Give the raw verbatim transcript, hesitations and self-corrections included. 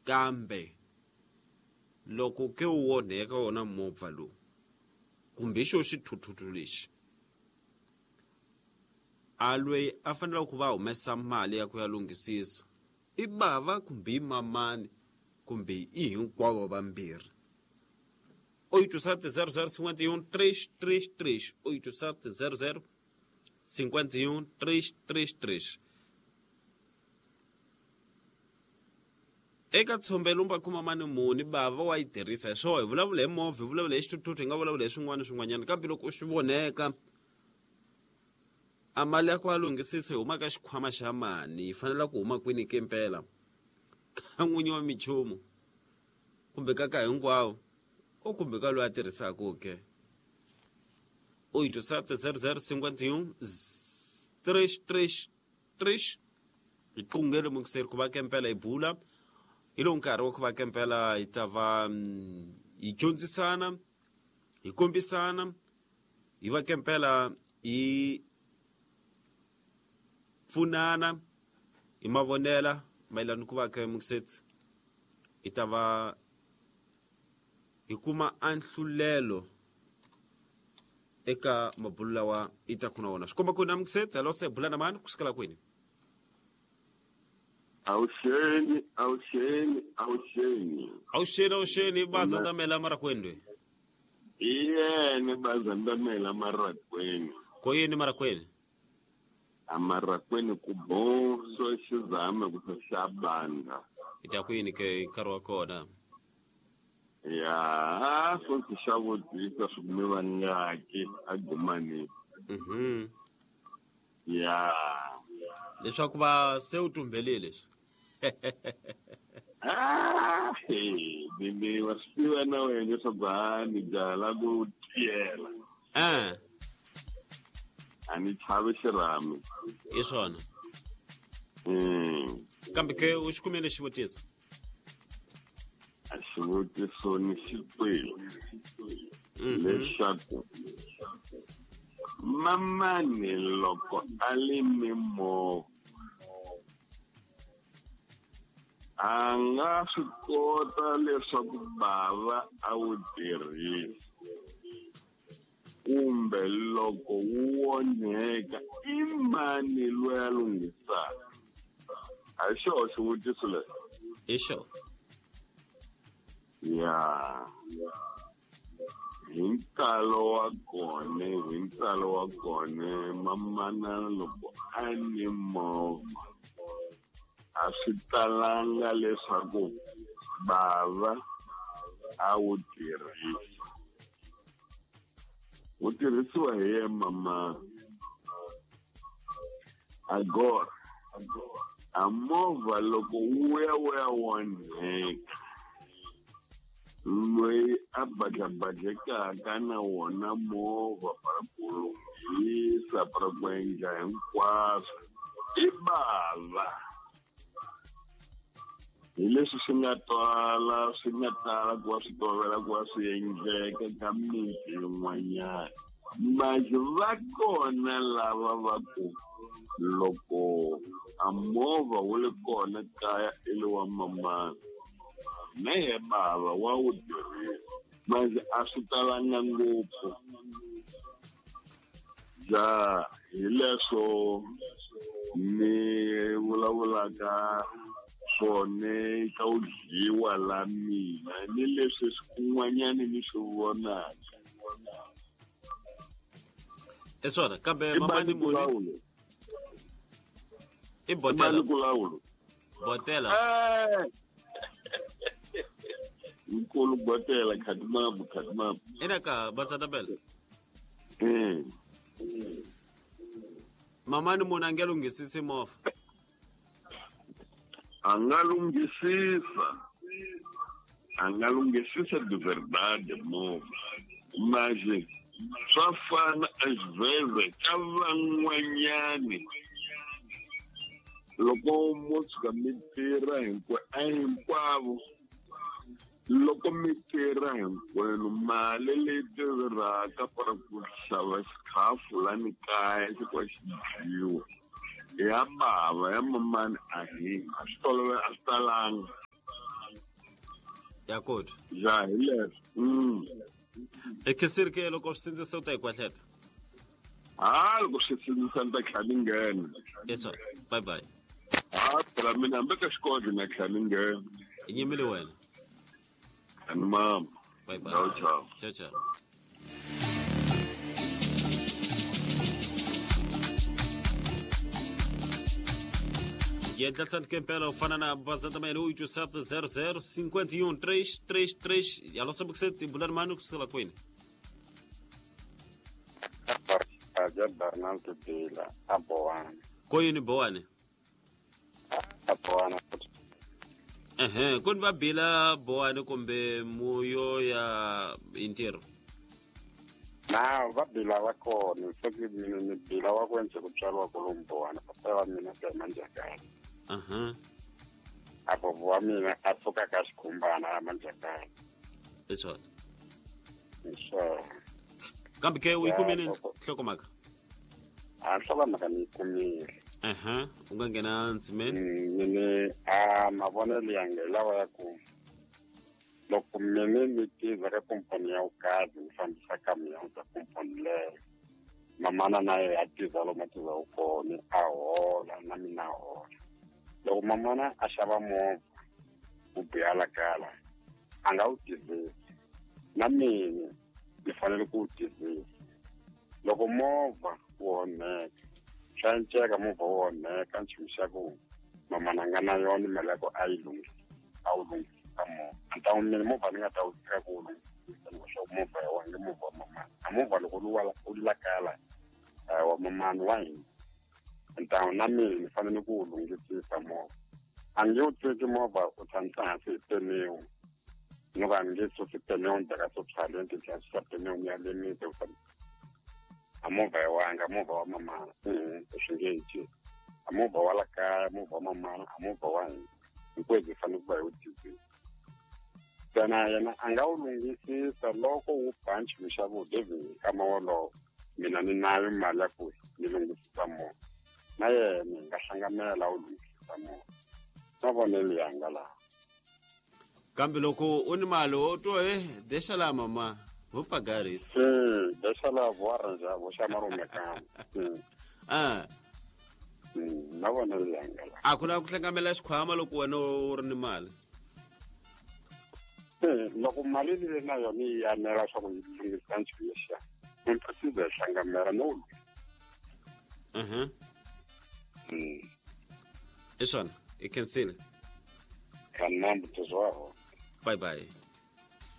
Kambe loko ke wu onheka wona movha lowu kumbe xo xithuthuthu lexi, a loyi a faneleke ku va humesa mali ya ku ya lunghisisa i bava kumbe i mamani kumbe i hinkwavo vambirhi. oito sete zero zero cinquenta e um três três três, oito sete zero zero cinquenta e um três três três. Eka tshombe lumba kuma mani muni bava wa yi tirhisa hi swona, hi vulavula hi movha, hi vulavula hi xithuthuthu, hi nga vulavula hi swin'wana swin'wanyana, kambe loko u swi voneka a mali ya ku a lunghisisa yi huma ka xikhwama xa mani, yi fanele ku huma kwini ke mpela, ka n'winyi wa minchumu kumbe ka ka hinkwawo o kumbe ka loyi a tirhisaka ke. oito sete zero zero cinquenta e um três três três. Hi qungele mukiseri ku va ke mpela hi bula hi lowu nkarhi wa ku va ke mpela hi ta va hi dyondzisana, hi kombisana, hi va ke mpela hi pfunana hi mavonela mayelana ku va ke mukiseti hi ta va hi kuma anhlulelo eka mabulu lawa i ta kuna wona. Swi komba ku na mukiseti hello, se bula na mani kusukela kwini? Awuxeni, awuxeni, awuxeni. Awuxeni, awuxeni, bazandamela marakweni. Iyene bazandamela marakweni. Ko yini marakweni? Amarakweni ku boso xizame ku xabanda. Ita kwini ke nkarhi wa kona? Ya, so xavutisa swi kume vangaki agumani. Mhm. Ya. Leswaku va se u tumbelile leswi. Ah, hey, ni wa swi tiva na wena leswaku ha ni byala ku tiyela. Eh. A ni chavi xirhami. Hi swona. Mm. Kambe ke u xi kumile xivutiso? A xivutiso ni xi twile. Leswaku mamani loko a lime movha a nga swi kota leswaku bava a wu tirhisa, kumbe loko wu onheka i mani loyi a lunghisaka? A hi xona xivutiso lexi? Hi xona. Ya, hi ntalo wa kona, hi ntalo wa kona mamana loko a ni movha a swi talanga leswaku bava a wu tirhisa. Wu tirhisiwa hi ye mama. Agora a movha loko wu ya wu ya onheka, loyi a badlabadlekaka na wona movha para ku lunghisa, para ku endla hinkwaswo i bava. Hi leswi swi nga twala, swi nga tala ku va swi tovela ku va swi endleka ka miti yin'wanyana. Manje va kona lava va ku loko a movha wu ri kona kaya i le wa mamana, na ye bava wa wu tirhisa. Manje a swi talanga ngopfu. Ja, hi leswo ni vulavulaka swona ka u dyiwa la mina ni leswi swin'wanyana ni swi vonaka. I swona, kambe mamani muni i botela. Botela. Nkulu botela khatimabu khatimabu. Ina ka batsatabela. Mm. Mamani munhu a nge lunghisisi movha. A nga lunghisisa. A nga lunghisisa de verdade movha. Mas swa fana às vezes ka van'wanyani loko mo tshuka mi tirha a hinkwavo, loko mi tirha hinkwenu mali leyi tirhaka para ku xava xikhafu lani kaya xi ku xi dyiwa ya bava ya mamani a hi a swi tolovela, a swi talanga. Ya kota. Ya hi leswo. Mm. E ke loko swi sindzisa u ta yi kwahleta. Ha loko swi sindzisa ni ta tlhela ni nghena. Yes sir. Bye bye. Ha phela mina hambi ka xikolo na tlhela ni nghena. I nyimile wena. Ani mama. Bye bye. Ciao ciao. Ciao ciao. Yedla kempela ufana na bazata mele oito sete zero zero cinco um três três três. Alô, sabe que você bular mano que se lá coine. Aja Bernardo Bila aboana. Koyini boane. Aboana. Eh, kon va bila boane kumbe muyo ya intero. Na va bila wa kona, soki mina ni bila wa kwenze kutswariwa kolomboana, papa wa mina ka manjakana. Aha. Apo wa mina a suka ka xikhumbana ya manjakana. Leswo. So kambe ke u yi kumile nhlokomhaka? A nhlokomhaka ni yi kumile. Aha, u nga nghena ndzimeni? Ni a mavonelo yanga hi lawa ya ku loko mina ni tirha ka komponi ya vukazi ni fambisa kamion ka komponi leyo, mamana na yena a tirha lomu a tirhaka kona a hola na mina a hola. Loko mamana a xava movha wu biha la kala a nga wu tirhisi, na mina ni fanele ku wu tirhisa. Loko movha wu onheka swa enceka movha wu onheka nchumu xa ku mamana a nga na yona mali ya ku a yi lunghisa a wu lunghisa movha. A ta mina movha ni nga ta wu teka ku wu lunghisa leswaku movha ya wena movha wa mamana. A movha loko wu lakala wa mamana wa hina ntawu na mina ni fanele ku wu lunghisisa movha. A nge wu teki movha u tshamisa hansi hi peniwa ni ku a ni nge susi peniwa ni teka swo ni ti susa peniwa ni ya lemisa a movha ya wanga movha wa mamana swi nge he a movha wa la kaya movha wa mamana a movha wa hina hinkwenu hi fanele ku va hi wu tirhisa. Ntsena yena a nga wu lunghisisa loko wu ba nchumu xa ku David nkama wolowo mina ni nayo mali ya ku ni lunghisisa movha na yena hi nga hlanganela wu lunghisisa movha. Mavonelo yanga laha. Kambe loko u ni mali wo to eh deixa lá mamá, vou pagar isso. Sim, deixa lá, vou arranjar, vou chamar o mecânico. Sim. Ah. Mavonelo yanga laha. A ku na ku hlanganela xikhwama loko wena u ri ni mali. Loko mali leyi na yona yi anela swa ku yi lunghisa nchumu lexiya ni precisa hi hlanganela no wu. Mhm. I swona i khensile. Kanambu tuzwaho. Bye bye.